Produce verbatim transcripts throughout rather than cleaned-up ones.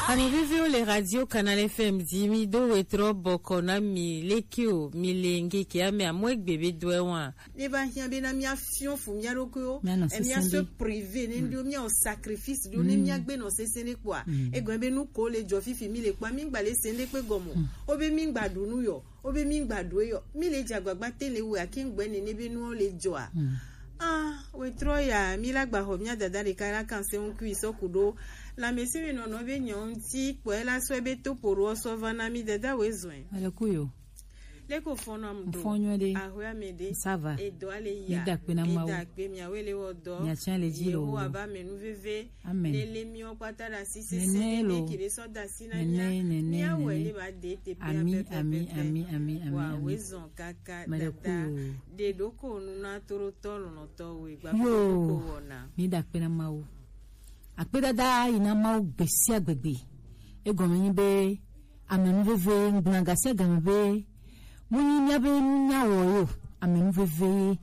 Ami viviwo le radio Canal F M di mi do wetrɔ bɔkɔ na mi leke o, mi le ngeke ame amɔ egbe be dɔɛ wa. Ne va hiã be na mía fiɔ fu mía ɖokuiwo, Mía nɔ e mía sesẽ se ɖe. Privé ne ɖo mía o sacrifice ɖo ne mía gbe nɔ sesẽ ɖe kpɔa. Egɔme be nu ko le dzɔ fifi mi le kpɔa, mi gba le se ɖe kpe gɔmɔ. O be mi gba ɖu nu yɔ, o be mi gba ɖu yɔ, mi le dze agbagba te le wɛ ake ŋgbɛ nene be nuwo le dzɔa. Ah, wetrɔ ya, mi la gba xɔ mía dada ɖeka la kan se ŋkui sɔ ku ɖo. Lãmesẽ mi nɔnɔ be nyɔ ŋuti kpɔe la sɔ be to poro sɔ va na mi dada we zɔe. Ale ku yo. Leko fɔnɔ am do. Fɔnyɔ de. Ahwe ame de. Ça va. Edo ale ya. Mi da kpe na Mawu. Eda kpe mia wele wɔ dɔ. Mia tiã le dzi lo. Yehowa ba me nu veve. Amen. Nele miwo kpata da si sese. Nene lo. Nene kide sɔ da si na mia. Nene, nene, mia wɔ nene. Ele ba de te pe. Ami, ami, ami, ami, ami, wa ami. Wezɔn kaka. Mele dada. Ku. De ɖoko nu na toro tɔ lɔnɔ tɔ we gba. Yo. Ko wɔna. Mi da kpe na Mawu. Akpedada yi na Mawu gbe sia gbegbe. Egɔme nyi be amenuveve ŋgblɔna ga sia game be mu nyi mía be nu nya wɔ yo amenuveve ye.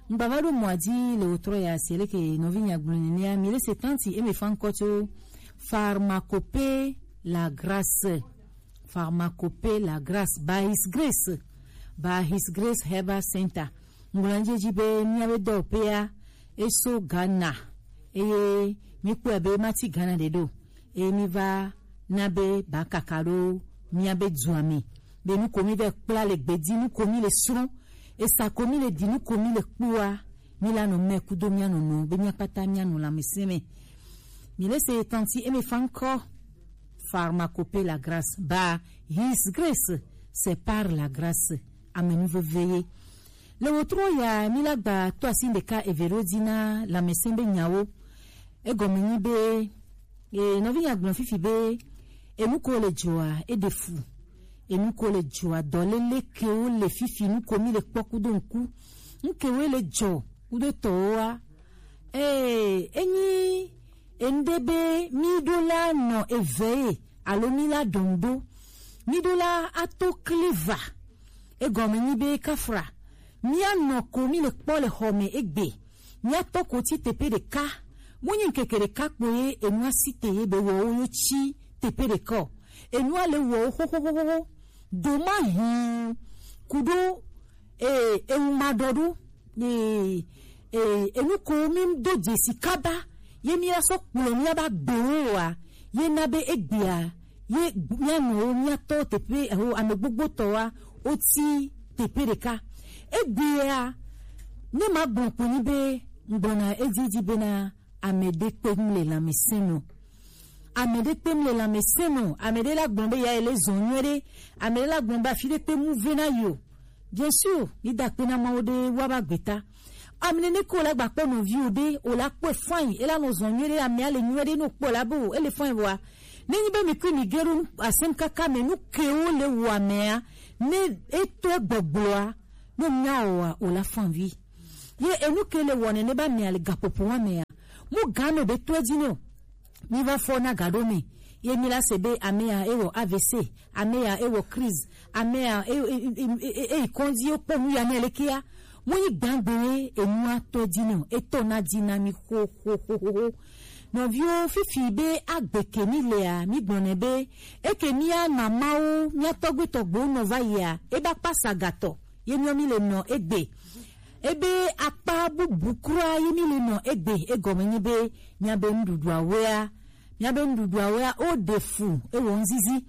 Ŋgbava ɖo mɔa dzi le wòtrɔ ya se leke nɔvi nya gblɔ nenea mi le se tanti eme fa ŋkɔ tso Pharmacopée la Grâce. Pharmacopée la Grâce by His Grace, by His Grace Herbal Center. Ŋgblɔ dzi dzi be mía be dɔwɔƒea eso Ghana eye mi kpɔe be mati Ghana ɖe ɖo eye mi va na be ba kaka ɖo mía be dua me be nu ko mi vɛ kpla le gbedi nu ko mi le srɔ̃ esa ko mi le di nu ko mi le kpɔa mi la nɔ mɛ kudo mía nɔnɔ be mía kpata mía nɔ lãmesẽ me. Mi le se tanti eme fa ŋkɔ Pharmacopée la Grâce, ba His Grace, c'est par la grâce. Amenuveve ye. Le wòtrɔ ya mi la gba to asi ɖeka eve ɖo dzi na lãmesẽ be nyawo. Egɔme nyi be e nɔvi nya gblɔ fifi be enu ko le dzɔa eɖe fu. Enu ko le dzɔa dɔlele kewo le fifi nu ko mi le kpɔ kudo ŋku. Nu kewo le dzɔ kudo tɔwoa. Ee, enyi enu ɖe be mi ɖo la nɔ eve ye alo mi la ɖɔn ɖo. Mi ɖo la ato kliva. Egɔme nyi be kafra. Mía nɔ ko mi le kpɔ le xɔ me egbe. Mía tɔ ko tsi teƒe ɖeka. Mu nyi ŋkeke ɖeka kpo ye enua si te ye be wɔ wo yo tsi teƒe ɖeka o. Enua le wɔ wo xoxoxoxo. Ɖo ma hin kudo ee ewu ma ɖɔ ɖo. Ee, ee, enu ko mi do dzesi kaba ye mi la sɔ kplɔ mi la ba gbewo wa ye na be egbea ye mía nɔwo mía tɔ teƒe eho ame gbogbo tɔwa wotsi teƒe ɖeka. Egbea ne ma gbɔn kpo ni be ŋgbɔna edzi dzi bena ame ɖe kpe ŋu le lãmesẽ me o. Ame ɖe kpe ŋu le lãmesẽ me o. Ame ɖe la gbɔn be ya ele zɔn nyuie ɖe. Ame ɖe la gbɔn be afi ɖe kpe mu ve na yi o. Bien sûr, ni da kpe na Mawu ɖe wa ba gbeta. Ame nene ko la gba kpɔ nɔvi o ɖe, o la kpɔe fine, e la nɔ zɔn nyuie ɖe, amea le nyuie ɖe no kpɔ la bo, ele fine wa. Ne nyi be mi kui mi ge ɖo asem kaka me nu kewo le wo amea, ne etɔ gbɔgblɔa, no mia o wa, o la fine vi. Ye enu ke le wɔ nene ba mia le gaƒoƒo wa mea, mu ga me be tɔ dzi ne o. Mi va fɔ na gaɖo me ye mi la se be ame ya ewɔ A V C, ame ya ewɔ crise, ame ya e- e- e- e- e- eyi kɔndzi wokpɔ nu ya nɛ lekea. Mu yi gbãgbe ye enua tɔ dzi nɛ o, etɔ na dzi na mi xoxoxoxo. Nɔviwo, fifi be agbe ke mi lea, mi gblɔnɛ be eke mia mamawo, mia tɔgbe tɔgbewo nɔ va yia, eba kpa sagatɔ ye miɔ mi le nɔ egbe. Ebe akpa bubu kura ye mi le nɔ egbe, egɔme nyi be miabe nuɖuɖuawoea, miabe nuɖuɖuawoea, wo ɖe fu, ewɔ ŋzizi.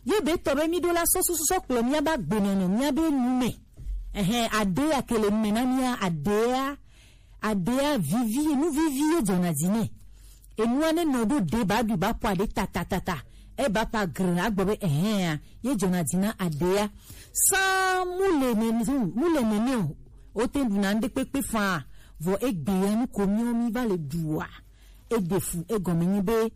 Ye be tɔ be mi ɖo la sɔ susu sɔ kplɔ miabe agbenɔnɔ, miabe nu me. Ɛhɛ, ade ya ke le nu me na mia, adea, adea vivi, nu vivi ye dzɔna dzi nɛ. Enua ne nɔ ɖo ɖe ba ɖu ba ƒo aɖe tatatata. Eba ƒa gre agbɔ be ɛhɛa ye dzɔna dzi na aɖea. Sã mu le nene mu le nene o. Wote ɖuna ŋɖe kpekpe faa. Vɔ egbea nu ko miɔ mi va le ɖua. Eɖe fu egɔme nyi be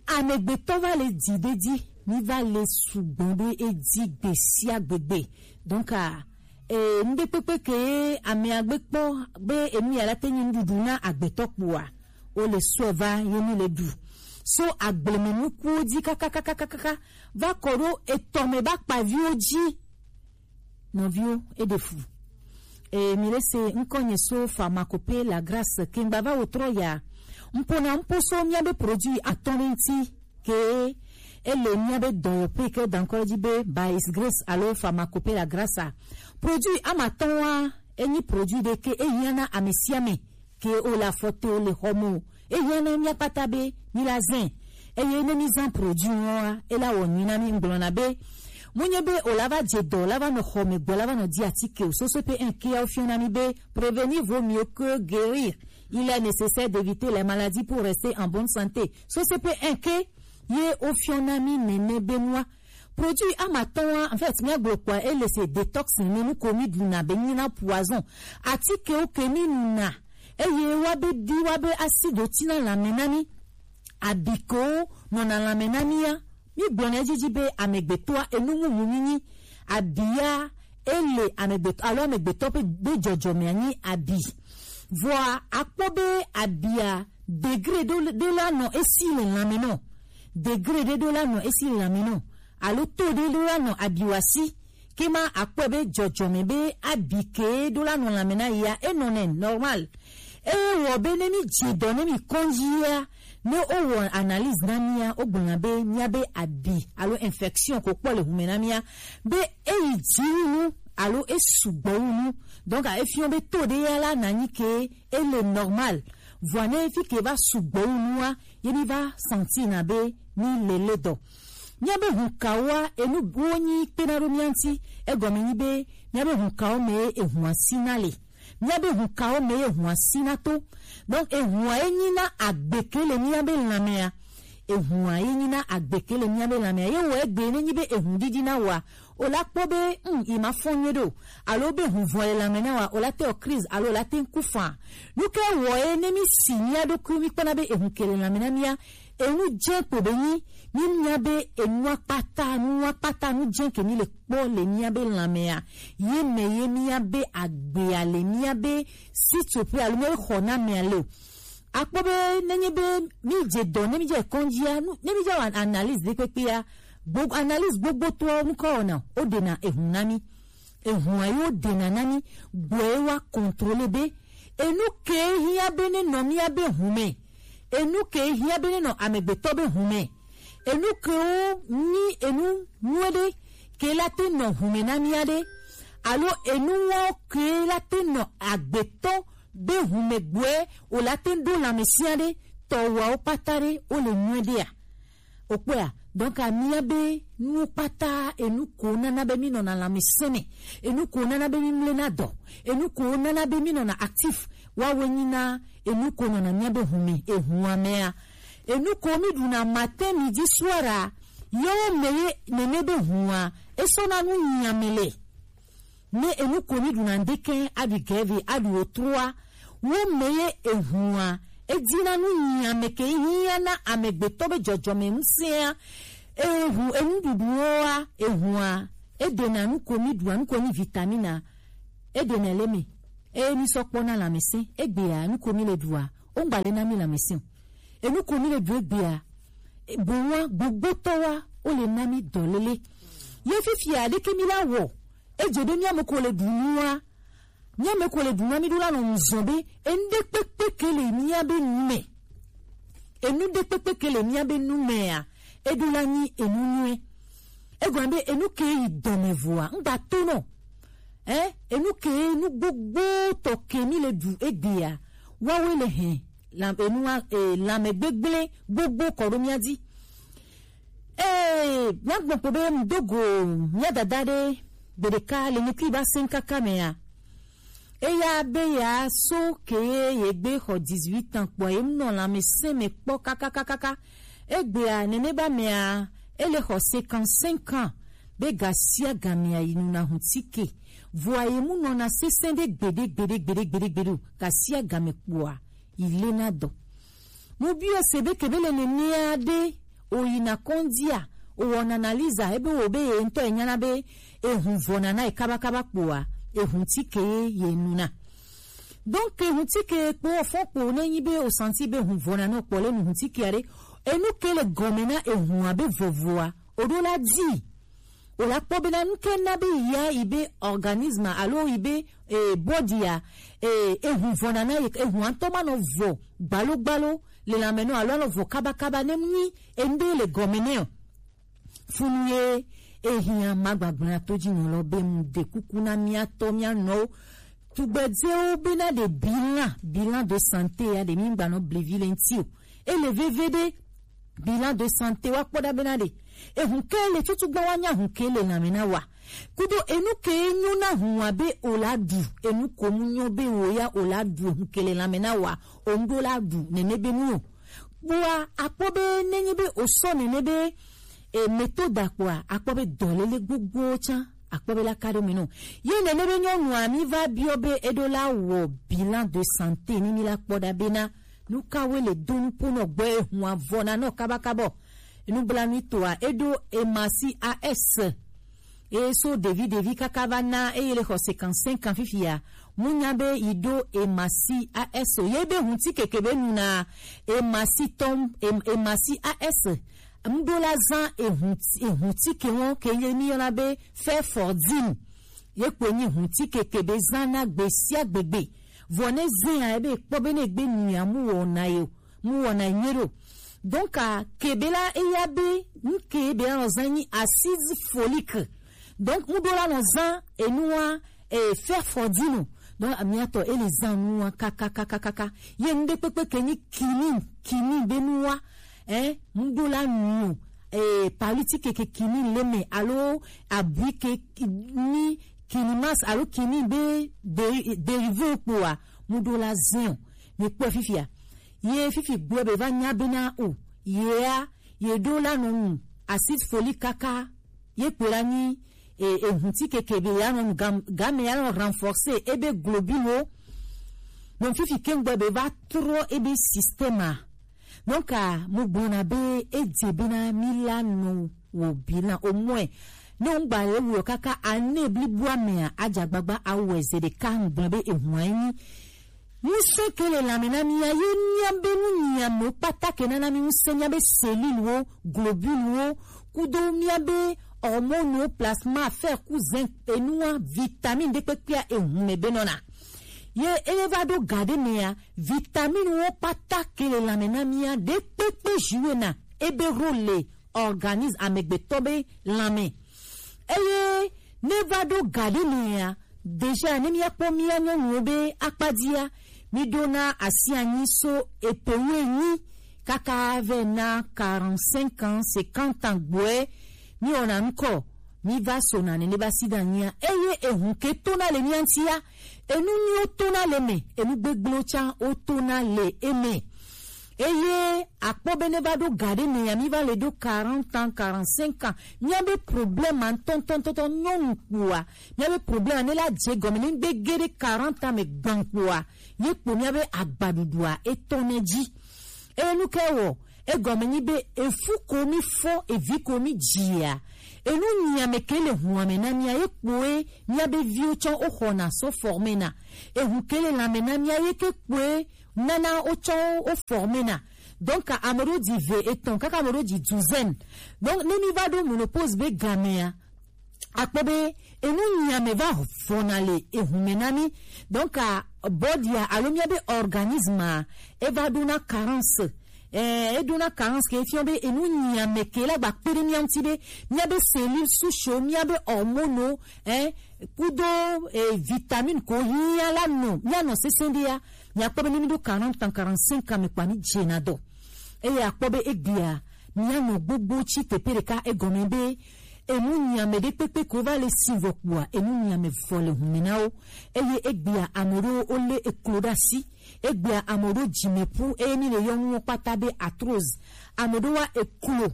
amegbetɔ va le dzi ɖe dzi mi va le sugbɔ ɖe edzi gbe sia gbegbe. Donc ah, e, ŋɖe kpekpe ke amea gbe kpɔ be enu ya la te nyi nuɖuɖu na agbetɔ kpoa, wo le sɔe va ye mi le ɖu. So agbleme nukuwo dzi kakakakakaka va kɔ ɖo etɔ me ba kpaviwo dzi. Nɔviwo, eɖe fu. E, mi le se ŋkɔ nye so Pharmacopée la Grâce ke ŋgba va wo trɔ ya. Ŋpo na ŋpo so miabe produit atɔ̃ ɖe ŋti. ke ele mía be dɔyɔƒe ke da ŋkɔ edzi be By His Grace alo Pharmacopoeia Grassa. Produit ama atɔ̃ wa, enyi produit ɖe ke ehiã na ame sia ame ke wole afɔ te, wole xɔ me o. Ehiã na mía kpata be mí la zãe. Eye ne mí zã produit ŋua, ela wɔ nyui na mí. Ŋgblɔna be, menye be wòla va dze dɔ, la va nɔ xɔ me gbɔ, la va nɔ di atike o. Sose pe un ke ya wofiɔ na mí be, prévenir vaut mieux que guérir. Il est nécessaire d'éviter les maladies pour rester en bonne santé. Sose pe un ke ye wofiɔ na mí nene be nua. Produit ama atɔ̃ wa, en fait, míagblɔ kpɔa, ele se détox ne nu ko mí ɖuna be nyina poison. Atikewo ke mí nuna, eye wa be ɖi wa be acide tina lãme na mí. Abi ko nɔna lãme na mía, mí gblɔna edzi dzi be amegbetɔa enu mumu mí nyi. Abia ele amegbetɔ alo amegbetɔ be, be dzɔdzɔmea nyi abi. Vɔa akpɔ be abia degré ɖe, ɖe la nɔ esi le lãme nɔ. Degré ɖe ɖo la nɔ esi le lãme nɔ. Alo to ɖe ɖo la nɔ abiwasi. Ke ma akpɔe be dzɔdzɔme be abi ke ɖo la nɔ lãme na yia, enɔ nɛ normal. Eye wɔ be ne mí dze dɔ ne mí kɔndzia, ne wowɔ analyse na mía, wogblɔna be mía be abi alo infection ko kpɔ le hume na mía, be eyi dzi wu nu alo esugbɔ wu nu. Donc efiɔ be to ɖe ya la na nyi ke ele normal. Vɔa ne fi ke va sugbɔ wu nua, ye mí va sentir na be mí le le dɔ. Mía be hunkawoa, enu wo nyi kpena ɖo mía ŋuti. Egɔme nyi be mía be hunkawo me ehua sina le. Mía be hunkawo me ehua sina to. Donc ehua ye nyi na agbe ke le mía be lãmea. Ehua ye nyi na agbe ke le mía be lãmea. Ye wɔ egbe ne nyi be ehu ɖiɖi na wa, o la kpɔ be, mm, i ma fɔn nyuie ɖo, alo be hu vɔ le lãme na wa, o la te wɔ crise, alo o la te ŋku fã. Nu ke wɔ ye ne mí si mía ɖokui mí kpɔna be ehu ke le lãme na mía, enu dze kpo be nyi, mí nya be enua kpata, nua kpata, nu dze ke mí le kpɔ le mía be lãmea, ye me ye mía be agbea le, mía be sitsoƒe alo mía be xɔnamea le o. Akpɔ be nenye be mí dze dɔ, ne mí dze kɔndzia, nu, ne mí dze wɔ analyse ɖe kpekpea, gbo-, analyse gbogbotɔwo ŋkɔ wɔna, wo ɖena ehu na mí. Ehua ye wo ɖena na mí, gbɔe wa contrôler be enu ke hiã be ne nɔ mía be hu me, enu ke hiã be ne nɔ amegbetɔ be hu me, enu kewo nyi enu nyuie ɖe ke la te nɔ hu me na mía ɖe, alo enu wɔ ke la te nɔ agbetɔ be hu me gbɔe o la te ɖo lãmesĩa ɖe, tɔwawo kpata ɖe wo le nyuie ɖea? Okpɔa, donc amía be nuwo kpata enu ko nana be mí nɔna lãmesẽ me, enu ko nana be mí mlena dɔ, enu ko nana be mí nɔna actif, wawoe nyi na enu ko nɔna mía be hu me, ehua mea. Enu ko mí ɖuna matin, midi, soir a, yewo me ye nene be hua esɔna nu nyiame le. Ne enu ko mí ɖuna ŋdekɛ, aɖu gɛvi, aɖu otroa, wo me ye ehua edina nu nyiame ke hiã na amegbetɔ be dzɔdzɔme ŋusẽa. Ehu enuɖuɖuwoa, ehua eɖena nu ko mí ɖua, nu ko nyi vitamina, eɖena le me. Eye mí sɔ kpɔna lãmesẽ, egbea nu ko mí le ɖua, wo ŋgba le na mí lãmesẽ o. Enu ko mí le ɖu egbea, e, boŋ wa gbogbotɔ wa wo le na mí dɔlele. Ye fifia ɖeke mí la wɔ, edze be mía me ko le ɖu nua, mía me ko le ɖu nua, mí ɖo la nɔ ŋzɔn be enu ɖe kpekpe ke le mía be nu me. Enu ɖe kpekpe ke le mía be nu mea, eɖo la nyi enu nyuie. Egɔme be enu ke yi dɔme vɔa, ŋgba to nɔ. Ɛ, enu ke nu gbogbotɔ ke mí le ɖu egbea, wawoe le hɛn la, enua, e, lãme gbegblẽ gbogbo kɔ ɖo mía dzi. Ee, míagblɔ kpo be ŋdo go mía dada ɖe gbeɖeka le nyikui ba sẽŋ kaka mea. Eya be ya so ke ye gbe xɔ dix-huit ans kpɔ ye nɔ lãmesẽ me kpɔ kakakakaka. Egbea nene ba mea, ele xɔ cinquante-cinq ans be ga sia ga mea yi nuna hu tike. Vɔa ye mu nɔna sesẽ ɖe gbeɖe, gbeɖe, gbeɖe, gbeɖe, gbeɖe o. Ga sia ga me kpɔa, yi lena dɔ. Mu biɔ se be kebe le nenea ɖe, o yina kɔndzia, o wɔna analyse a, ebe wo be ye ŋutɔ e nyana be ehu vɔna na ye kabakaba kpɔa, ehu tike ye, ye nuna. Donc ehu tike kpo fɔ kpo ne nyi be o sentir be ehu vɔna na o kpɔ le nu hu tike a ɖe, enu ke le gɔme na ehu a be vɔvɔa, o ɖo la di. O la kpɔ bena nu ke na be ya yi be organisme alo yi be, e, body a, e, ehu vɔna na ye, ehu ŋutɔ ma nɔ vɔ gbalo gbalo le lanmɛ nɔ alo anɔ vɔ kabakaba ne mu nyi enu ɖe le gɔme nɛ o. Funu ye ehiã magbagbla to ji nɔ lɔ be mu de kuku na mia tɔ mia nɔwo. Tugbedzewo bena ɖe bilan, bilan de santé ya ɖe mi gba nɔ blivi le ŋti o. Ele veve ɖe bilan de santé wa kpɔ ɖa bena ɖe ehun ke le tutu gba wa nya hun ke le lanmɛ na wa. Kudo enu ke nyo na hun wa be o la ɖu, enu ko mu nyo be wo ya o la ɖu ehun ke le lanmɛ na wa, o ŋɖo la ɖu nene be nu o. Kpoa akpɔ be nenyi be o sɔ nene be e méthode kpoa akpɔ be dɔlele gbogbo tsã akpɔ be la ka ɖo mi nɔ. Ye nene be nyɔnua mi va biɔ be eɖo la wɔ bilan de santé ni mi la kpɔ ɖa bena nu ka we le do nupo nɔ gbɔ ehun avɔ na nɔ kabakabɔ. Nublanui toa eɖo Emasi A S. Eye so ɖevi ɖevi kaka va na eye le xɔ cinquante-cinq ans fifia. Mu nya be yi ɖo Emasi A S o. Ye be hunti keke be nu na Emasi tɔm, em, Emasi A S. Ŋɖo la zã ehunti, ehunti ke wɔn ke ye mi yɔna be fefordin. Ye kpoe nyi hunti keke be zã na gbe sia gbegbe. Vɔ ne zẽ ya ebe kpɔ be ne gbe nu ya mu wɔna ye o. Mu wɔna nyuie ɖo. Donc, a, kebe la eya be, nu ke be la nɔ zã nyi assise folique. Donc, mu ɖo la nɔ zã enua, e, fefordin o. Donc, amiatɔ, ele zã nua kakakakaka. Ye nu ɖe kpekpe ke nyi kinin, kinin be nua, eh, mu ɖo la nu, eh, paliti keke kinin le me, alo abui ke ni kinimas, alo kinin be de-, derive kpoa, mu ɖo la zẽ o. Mi kpɔe fifia. Ye fifi gblɔ be va nya bena o. Yea, ye ɖo la nɔ nu. Acide folique kaka. Ye kpe la nyi, e, e hunti keke be ya nɔ nu gam-, game ya nɔ renforcer ebe globule wo. Donc fifi kengbe be va trɔ ebe système a. Donc a, mu gbɔna be e dze bena mi la nɔ wo bilan au moins. Ne ŋgba ye wo kaka ane blibo amea, adzagbagba awɔe ze ɖeka ŋgblɔ be ehun anyi. Ŋusẽ ke le lanmɛ na mia ye mia be nu nyia me kpata ke nana mi ŋusẽ mia be cellule wo, globule wo, kudo mia be hormone wo, plasma, fer, cousin, enua, vitamine ɖe kpekpea ehun me be nɔna. Ye eye va ɖo ga ɖe mea, vitamine wo kpata ke le lanmɛ na mia ɖe kpekpe juwe na ebe role le organisme amegbetɔ be lanmɛ. Eye ne va ɖo ga ɖe mea, déjà ne mia kpɔ mia nyɔnuwo be akpadia, mi ɖo na asi anyi so epe wu enyi kaka ve na quarante-cinq ans, cinquante ans gbɔe, mi wɔna ŋkɔ, mi va sona nene ba si da nyia. Eye ehun ke to na le mia ŋtia, enu nyuiwo to na le me, enu gbegblẽwo tsã wo to na le eme. Eye akpɔ be ne va ɖo ga ɖe me ya, mi va le ɖo quarante ans, quarante-cinq ans. Mia be problème a ŋutɔŋutɔŋutɔ nyɔnu kpoa, mia be problème a ne la dze gɔme ne ŋgbe ge ɖe quarante ans me gban kpoa, ye kpo mia be agbaɖuɖua etɔ ne dzi. Eye nu ke wɔ, egɔme nyi be efu ko mi fɔ, evi ko mi dzia, enu nyia me ke le hua me na mia ye kpoe mia be viwo tsɔ wo xɔna sɔ forme na. Ehu ke le lanme na mia ye ke kpoe nana wotsɔ wo forme na. Donc ame ɖewo dzi ve etɔn kaka ame ɖewo dzi douzaine. Donc ne mi va ɖo ménopause be gamea, akpɔ be enu nyia me va vɔna le ehu me na mi. Donc a body a alo mia be organisme a eva ɖo na carence. Eh, eɖo na carence ke fiɔ be enu nyia me ke la gba kpe ɖe mia ŋuti be mia be cellule souche, mia be hormone, eh, kudo, eh, vitamine ko hiã la nɔ mia nɔ sesẽ ɖia. Miakpɔ be ne mi ɖo quarante ans, quarante-cinq ans me kpa mi dzena dɔ. Eye akpɔ be egbea, mianɔ gbogbo tsi teƒe ɖeka, egɔme be enu nyame ɖe kpekpe ko va le si vɔ kpoa, enu nyame vɔ le hume na wo. Eye egbea ame ɖewo wolé eklo ɖe asi. Egbea ame ɖewo dzime ƒu, eye mi le yɔnuwo kpata be arthrose. Ame ɖewo wa eklo,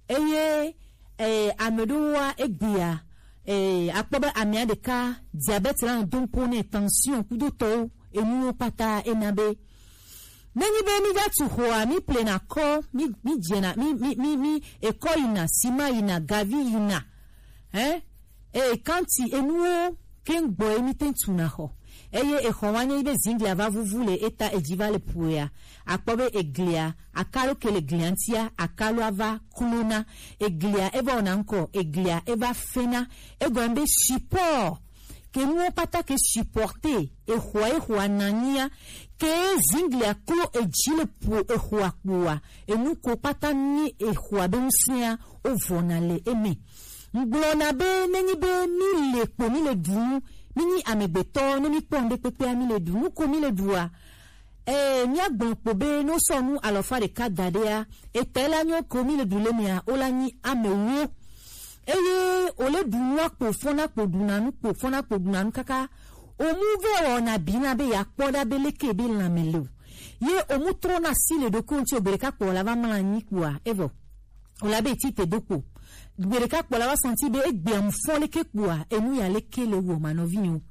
eye, eh, ame ɖewo wa egbea, eh, akpɔ be amea ɖeka diabète la nɔ dom kpo nɛ, tension kudo tɔwo, enuwo kpata ena be Nenyi be mi va tu xɔa, mi plena kɔ, mi, mi dzena, mi, mi, mi, mi ekɔ yina, sima yina, gavi yina, eh? E kanti enuwo ke ŋgbɔ ye mi te tuna xɔ. Eye exɔ wa nye be zinglia va vuvu le eta edzi va le puea. Akpɔ be eglia, akalo ke le glia ŋtia, akalo ava klona. Eglia eva wɔna ŋkɔ, eglia eva fena. Egɔme be support ke nuwo kpata ke supporter exɔa, exɔa nanyi a, ke zingli aklo eji le po exɔa kpoa, enu ko kpata nyi exɔa be ŋusẽa, wo vɔna le eme. Ŋgblɔna be nenyi be mi le kpo, mi le ɖu nu, mi nyi amegbetɔ, ne mi kpɔ ŋɖe kpekpea mi le ɖu nu ko mi le ɖua, Ee, míagblɔ kpo be ne wosɔ nu alɔfa ɖeka da ɖea, etɛ la nyɔ ko mi le du le mea, wo la nyi ame wo. Eye wole ɖu nua kpo fɔna kpo ɖuna nu kpo fɔna kpo ɖuna nu kaka. Omu vɛ wɔna bi na be yeakpɔ ɖa be leke be lãme le o. Ye omu trɔna asi le ɖokui ŋuti o, gbe ɖeka kpo wòla va mlɔ anyi kpoa, evɔ. Wòla be eti te do kpo. Gbe ɖeka kpo la va santi be egbea mu fɔ leke kpoa, enu ya leke le wɔ ma nɔvi nyo.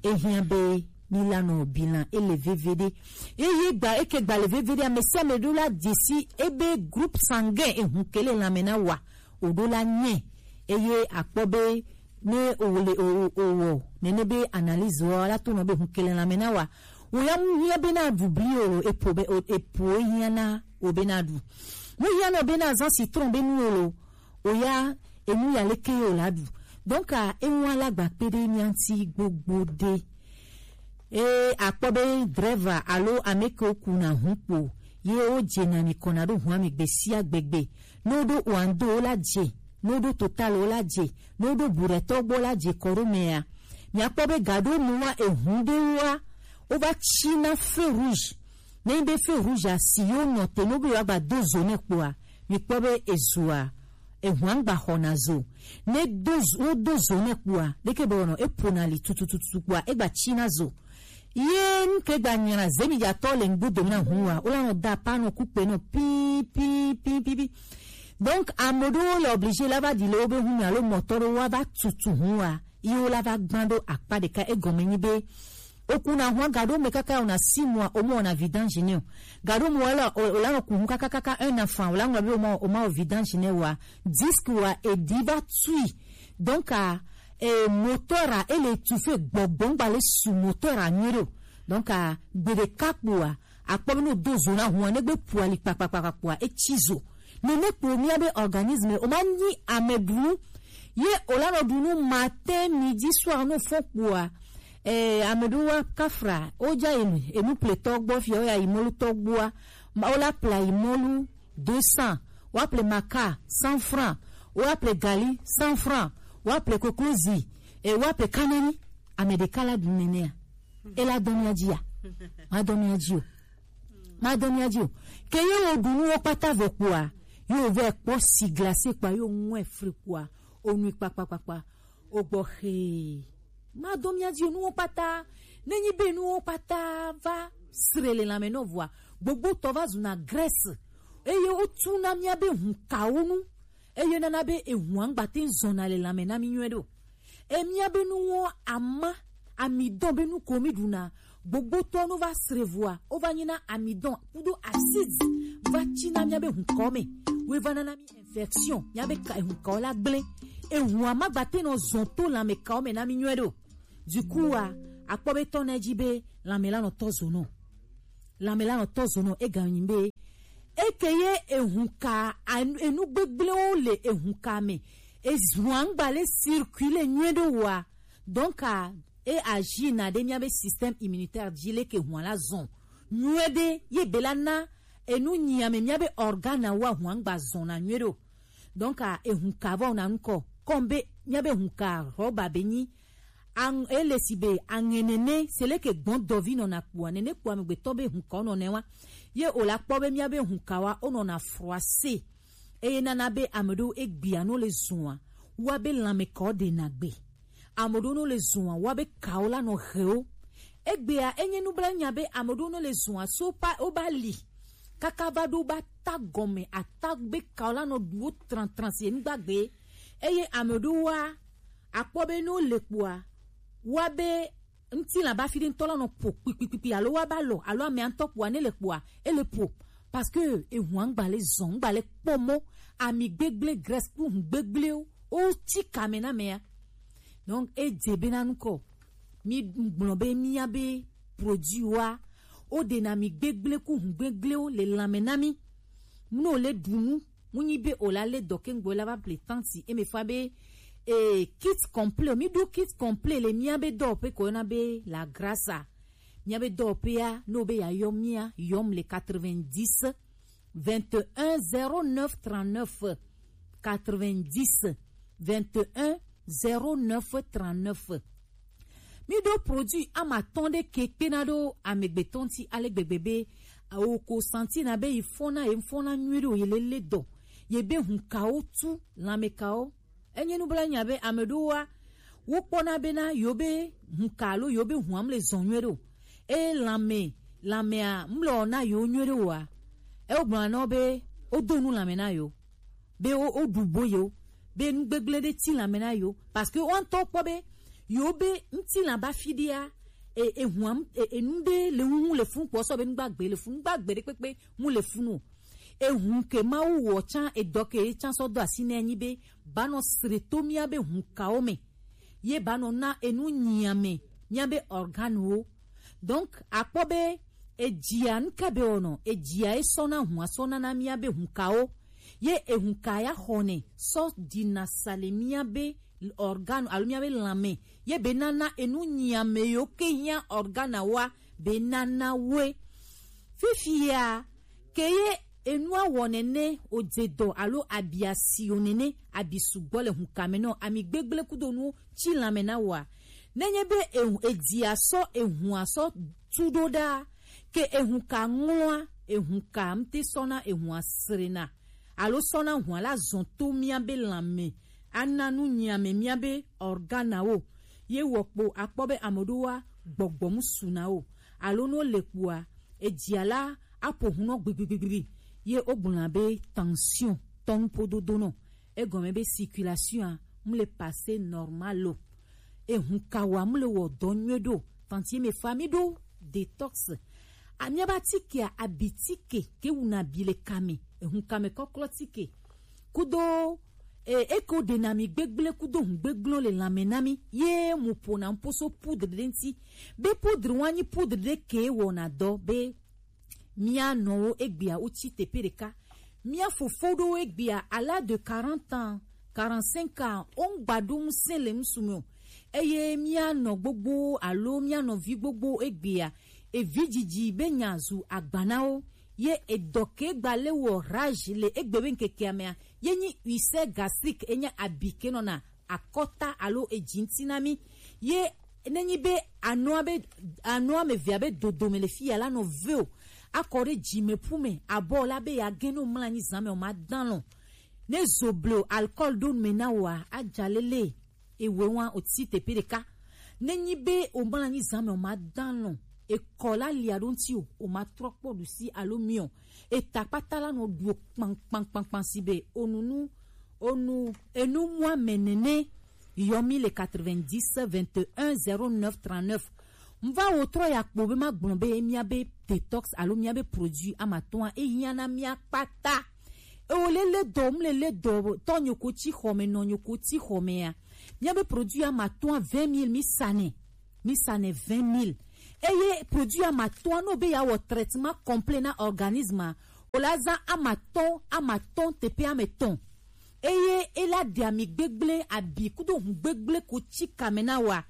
Ehiã be mi la nɔ bilan ele veve ɖe. Eye gba eke gba le veve ɖe, ame sia ame ɖo la dzesi ebe groupe sanguin ehu ke le lãme na wa. O ɖo la nyɛ. Eye akpɔ be ne o le o o o wɔ nene be analyse wa la to nɔ be hu ke le lãme na wa. Wo ya mu hiã be na ɖu bli o, epo be o, epo ehiã na o be na ɖu. Mu hiã na o be na zã citron be nu o lo. O ya enu ya leke ye o la ɖu. Donc a ewa la gba kpe ɖe mia ŋuti gbogbo ɖe. E akpɔ be driver alo ame ke wo kuna hu kpo ye wo dze na mi kɔna ɖo hu ame gbe sia gbegbe. Ne wo ɖo Oando wo la dze, ne wo ɖo Total wo la dze, ne wo ɖo Burɛtɔ gbɔ la dze kɔ ɖo mea. Miakpɔ be ga ɖo mu wa ehu ɖe wa wo va tsi na feu rouge. Ne nyi be feu rouge a si yo nɔ te no be yewoagba do zo nɛ kpoa, mi kpɔ be ezoa, ehua ŋgba xɔna zo. Ne do zo, wo do zo nɛ kpoa, ɖeke be wɔnɔ, eƒona li tutututu kpoa, egba tsina zo. Ye nuke gba nyra zemi dzatɔ le ŋgbo dome na hua, wo la nɔ da pa nɔ kukpe nɔ pi, pi, pi, pi, pi. Donc, ame ɖewo le obligé la va ɖi le wobe hu me alo mɔtɔ ɖewo wa va tutu hua. Ye wo la va gbã ɖo akpa ɖeka, egɔme nyi be, okuna hua ga ɖo me kaka wona six mois, o ma wona vidange nɛ o. Ga ɖo me wala, o, o la nɔ ku hu kaka kaka un enfant, o la ŋlɔ be o ma, o ma wɔ vidange nɛ wa. Disque wa, eɖi va tui. Donc, a, e, moteur a, ele étouffé gbɔgbɔ, ŋgba le su moteur a nyuie ɖe o. Donc, a, gbe ɖeka kpoa, akpɔ be ne wodo zo na hua, ne gbe ƒo ali kpakpakpakpakpoa, etsi zo. Nene kpo mía be organisme, o ma nyi ame ɖu nu. Ye o la nɔ ɖu nu matin, midi, soir, no fɔ kpoa. Eh, ame ɖewo wa kafra, o dza yi enu pletɔ gbɔ fia, o ya yi mɔlutɔ gbɔa. Ma, o la pla yi mɔlu deux cents, wa ple maka cent francs, wa ple gali cent francs, wa ple koklozi, eh, wa ple kanani. Ame ɖeka la ɖu nenea. E la dɔ mía dzi ya? Ma dɔ mía dzi o. Ma dɔ mía dzi o. Ke ye wo ɖu nuwo kpata vɔ kpoa, ye wo vɛ kpɔ si glacé kpoa, ye wo ŋɔe fri kpoa, o nui kpakpakpakpa, o gbɔ xee. Ma dɔ mía dzi o, nuwo kpata, ne nyi be nuwo kpata va sre le lãme nɔ vɔa, gbogbo tɔ va zuna graisse. Eye wo tu na mía be hu kawo nu. Eye nana be ehua ŋgba te ŋu zɔna le lãme na mí nyuie ɖe o. E mía be nuwo ama, amidɔn be nu ko mí ɖuna, gbogbotɔ no va sre vɔa, wo va nyi na amidɔn kudo acide va tsi na mía be hu kawo me. Wo va nana mí infection, mía be ka, hu kawo la gblẽ. Ehua ma gba te nɔ zɔn to lãme kawo me na mí nyuie ɖe o. Du coup a, akpɔ be tɔ na edzi be lãme la nɔ tɔ zo nɔ. Lãme la nɔ tɔ zo nɔ, ega nyi be eke ye ehun ka enu gbegblẽwo le ehun ka me. Ehua ŋgba le circuler nyuie ɖe wa. Donc a, e agir na ɖe mía be système immunitaire dzi leke hua la zɔn nyuie ɖe ye be la na enu nyi ame mía be organe wa hua ŋgba zɔn na nyuie ɖe o. Donc a, ehun ka vɔ na ŋkɔ kɔm be mía be hun ka rɔba be nyi Aŋ-, ele si be aŋe nene se leke gbɔn dɔvi nɔna kpoa, nene kpoa amegbetɔ be hun ka wonɔ nɛ wa. Ye o la kpɔ be mía be hun ka wa wonɔna froissé. Eye nana be ame ɖewo egbea no le zua, wa be lãme ka wo ɖe na gbe. Ame ɖewo no le zua, wa be ka wo la nɔ he wo. Egbea enye nublanui nya be ame ɖewo no le zua so pa wo ba li. Kaka va ɖo ba ta gɔme, ata be ka wo la nɔ ɖu wo tran tran si enugba gbe. Eye ame ɖewo wa akpɔ be ne wole kpoa, wa be ŋutilã ba fi ɖe ŋutɔ la nɔ ƒo kpikpikpikpi alo wa ba lɔ alo amea ŋutɔ kpoa ne le kpoa, ele ƒo. Parce que ehua ŋgba le zɔn, ŋgba le kpɔ mɔ, ami gbegblẽ, graisse kple hu gbegblẽwo, wo tsi kame na mea. Donc, edze be na nukɔ, mi gblɔ be mía be produit wa, wo ɖe na mi gbegblẽ ku hu gbegblẽwo le lãme na mi. Ne wole ɖu nu, mu nyi be o la le dɔ ke ŋgbe la va ple tanti, eme fa be E kit complet, mi ɖo kit complet le mía be dɔwɔƒe ko yɔna be la grasa. Mía be dɔwɔƒea, ne wo be yeayɔ mía, yɔm le quatre-vingt-dix, vingt et un, zéro neuf, trente-neuf, quatre-vingt-dix, vingt et un, zéro neuf, trente-neuf. Mi ɖo produit amatɔn ɖe ke kpena ɖo amegbetɔ ŋuti ale gbegbe be, awo ko santi na be yi fɔna, ye fɔna nyuie ɖo, ye lele dɔ, ye be hun kawo tu, lãme kawo. Enye nublanui be ame ɖewoa, wokpɔna bena yewo be hun ka alo yewo be hua mle zɔn nyuie ɖe o. Eye lãme, lãmea mle wɔna yewo nyuie ɖe oa, ewo gblɔna na wo be wodo nu lãme na yewo, be wo, woɖu bo yewo, be nu gbegblẽ ɖe ti lãme na yewo, parce que woawo ŋutɔ kpɔ be yewo be ŋutilã ba fi ɖea, e, ehua, e, enu ɖe le ŋu le funu kpɔ sɔ be nugbagbe le funu, nugbagbe ɖe kpekpe mu le funu o. Ehu ke Mawu wɔ tsã, edɔ ke ye tsã sɔ do asi nɛ nyi be banɔ sre to mía be hun kawo me, ye banɔ na enu nyiame mía be organe wo. Donc akpɔ be edzia nuka be wɔnɔ, edzia ye sɔna hua sɔna na mía be hun kawo, ye ehun ka ya xɔnɛ sɔ dina sa le mía be organe alo mía be lãme, ye be nana enu nyiame yo ke hiã organe wa be nana woe. Fifia ke ye enua wɔ nene, odze dɔ alo abi asi o nene, abi sugbɔ le hunkame nɔ, ami gbegble kudo nu tsi lãme na wa. Nenye be ehu, edzia sɔ ehua sɔ tu ɖo ɖa, ke ehun ka ŋlɔa, ehun ka ŋute sɔna ehua srena, alo sɔna hua la zɔn to mía be lãme, ana nu nyiame mía be organe wo. Ye wɔ kpo akpɔ be ame ɖewoa gbɔgbɔ mu su na wo, alo no le kpoa edzia la aƒo hu nɔ gbigbigbigbi, ye wogblɔna be tension tɔnu pododo nɔ, egɔme be circulation a mu le passer normal o. Ehun ka wa mu le wɔ dɔ nyuie ɖo. Tantie me fa mi ɖo detox. Amia ba tikea, abi tike ke wuna bi le kame, ehun kame kɔklɔ tike. Kudo e, eko ɖe na mi gbegblẽ kudo hun gbegblẽ le lãme na mi, ye mu ƒona ŋposo poudre ɖe ŋuti. Be poudre wa nyi poudre ɖe ke wɔna dɔ be mía nɔwo egbea wotsi teƒe ɖeka. Mía fofo ɖewo egbea, à l'âge de quarante ans, quarante-cinq ans, wongba ɖo ŋusẽ le ŋsu me o. Eye mía nɔ gbogbo alo mía nɔvi gbogbo egbea, evi dzidzi be nya zu agba na wo. Ye edɔ ke gba le wɔ rage le egbe be ŋkekea mea, ye nyi ulcère gastrique, enye abi ke nɔna akɔta alo edzi ŋuti na mí. Ye nenyi be anɔa be, anɔa me vea be dodome le fi ya la nɔ ve o, akɔ ɖe dzimeƒu me, abɔ la be ya gẽ no mla anyi zã me o ma dã lɔ. Ne zo ble o alcool ɖo me na wa, adza lele, ewe wa o tsi teƒe ɖeka. Nenyi be o mla anyi zã me o ma dã lɔ, ekɔ la lia ɖo ŋuti o, o ma trɔ kpɔ ɖusi alo miɔ. Eta kpata la nɔ ɖu kpankpankpankpan si be onunu, onu, enu mua me nene. Yɔ mi le quatre-vingt-dix, vingt et un, zéro neuf, trente-neuf. Mva wo trɔ ya kpo be ma gblɔ be mía be detox alo mía be produit amatɔa ehiã na mía kpata. Ewo le le dɔ, mu le le dɔ tɔ nyoko tsi xɔ me, nɔ nyoko tsi xɔ me ya. Mía be produit amatɔa vingt mille mi sa nɛ. Mi sa nɛ vingt mille. Eye produit amatɔa, no be ya wɔ traitement complet na organisme a, o la zã amatɔn, amatɔn teƒe ametɔn. Eye e la ɖe ami gbegblẽ, abi kudo hun gbegblẽ ko tsi kame na wa.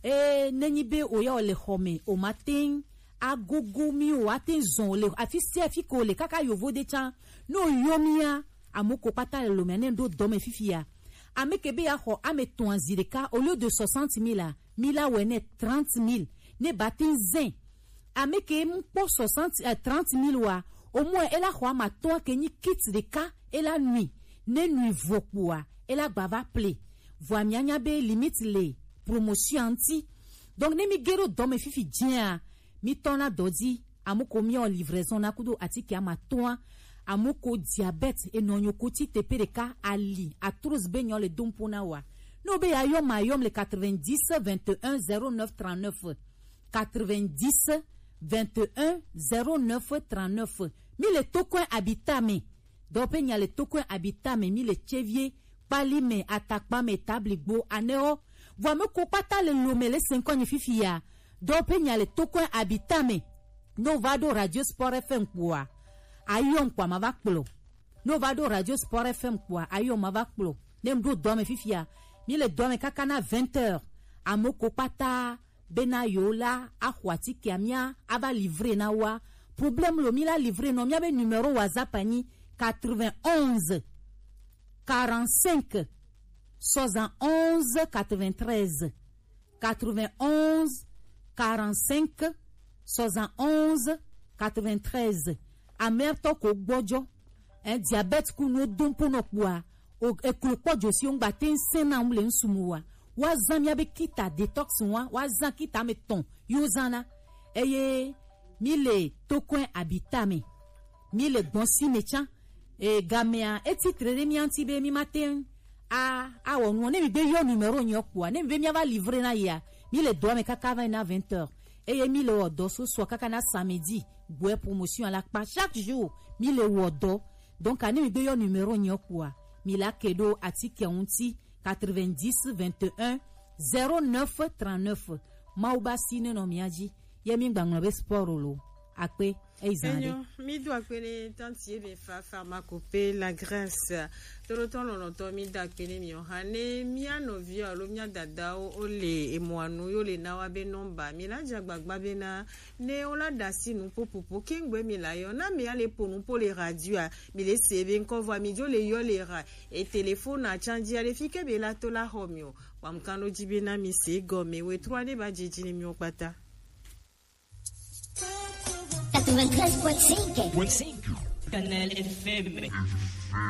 E nenyi be o ya o le xɔ me, o ma teŋ agogo mi o, ate zɔn o le afi sia afi ko le kaka yovo de tsã. No yɔ mia, amo ko kpata le lome ne ɖo dɔ me fifi ya. Ame ke be ya xɔ ame tɔn zi ɖeka, au lieu de soixante mille a, mi la wɛ ne trente mille, ne ba tin zen. Ame ke mu kpɔ soixante, eh, trente mille wa, au moins e la xɔ ama tɔn ke nyi kit ɖeka, e la nui, ne nui vo kpoa, e la gba va ple. Vɔa mia nya be limite le promotion ŋuti. Donc ne mi ge ɖo dɔ me fifi dzia, mi tɔ na dɔ dzi, amo ko mi o livraison na kudo atike ama tɔn, amo ko diabète, enɔ nyo ko ti tepe ɖeka, ali, arthrose be nyɔ le dompo na wa. No be ya yɔ ma yɔ le quatre-vingt-dix, vingt et un, zéro neuf, trente-neuf. Quatre-vingt-dix, vingt et un, zéro neuf, trente-neuf. Mi le tokɔe abita me. Dɔwɔƒe nya le tokɔe abita me, mi le tsevie, kpali me, atakpa me, tabligbo, anɛwo. Vɔa me ko kpata le lo me le senkɔ nyi fifi ya. Dɔwɔƒe nya le tokɔe abita me. No va ɖo Radio Sport F M kpoa, ayɔ ŋkpa ma va kplɔ. No va ɖo Radio Sport F M kpoa, ayɔ ma va kplɔ. Ne m ɖo dɔ me fifi ya, Mi le dɔ me kaka na vingt heures. Ame ko kpata bena yewo la axɔ atikea, mía ava livrer na woa. Problème lo, mi la livrer nɔ, míabe numéro WhatsApp anyi quatre-vingt-onze quarante-cinq soixante-onze quatre-vingt-treize. Quatre-vingt-onze quarante-cinq soixante-onze quatre-vingt-treize. Amɛtɔ ko gbɔjɔ, eh, diabète ku nu dom po nɔ kpua, o eklo kpɔ josi ŋgba ten sen na ŋu le ŋsumu wa. Wa zan mia be kita detox wa, wa zan kita me tɔn yo zan na. Eye mi le tokɔn abita me. Mi le gbɔn si me tsan. E, gamea, e titre ɖe mía ŋuti be mi ma te ŋu a, awɔ nuɔ. Ne mi be yɔ numéro nyɔ kpoa, ne mi be mía va livrer na yea, mi le dɔa me kaka va yi na vingt heures. Eye mi le wɔ dɔ so sɔ kaka na samedi, gbɔɛ promotion alakpa. Chaque jour, mi le wɔ dɔ. Donc, ne mi be yɔ numéro nyɔ kpoa, mi la ke ɖo atike ŋuti quatre-vingt-dix vingt et un zéro neuf trente-neuf. Mawu ba si ne nɔ mía dzi. Ye mi gba ŋlɔ be sport lo. Akpe. Eyi zan ɖe. Enyo, mi do akpe ne tanti ye be fa pharmacope la Grèce. Tolotɔ lɔlɔtɔ mi da akpe ne mi o ha ne mia nɔvi alo mia dadawo o le emɔanu yo le na wa be nɔmba. Mi la dza gbagba be na ne o la da si nu popopo kengbe mi la yɔ. Na mi ale po nu po le radio a. Mi le se be ŋkɔ vɔ mi jo le yɔ le ra. E téléphone a tsanji ale fi ke be la to la xɔ mi o. Wa mu kan do ji be na mi se gɔme we trɔ ne ba djidji ne mi o kpata. Quatre-vingt-treize point cinq. Kanal F M.